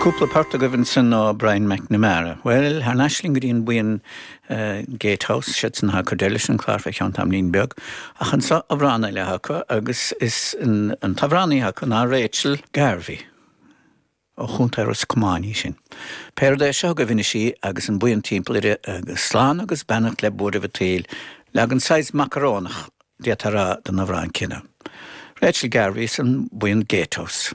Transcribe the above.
Cúpla port agaibh ansan ó Brian McNamara. Bhuel, thar n-ais linn go dtí an buíon Gatehouse, siadsan atá ag cur deireadh leis an clár fé cheann tamaillín beag. Ach anso amhrán eile acu agus is an t-amhránaí acu ná Rachel Garvey. Ó Chontae Ros Comáin í sin. Pé rud é, seo agaibh anois í agus an buíon timpeall uirthi agus slán agus beannacht le buaireamh an tsaoil, leagan saghas macarónach, d'fhéadfá a rá, den amhrán céanna. Rachel Garvey is an buíon Gatehouse.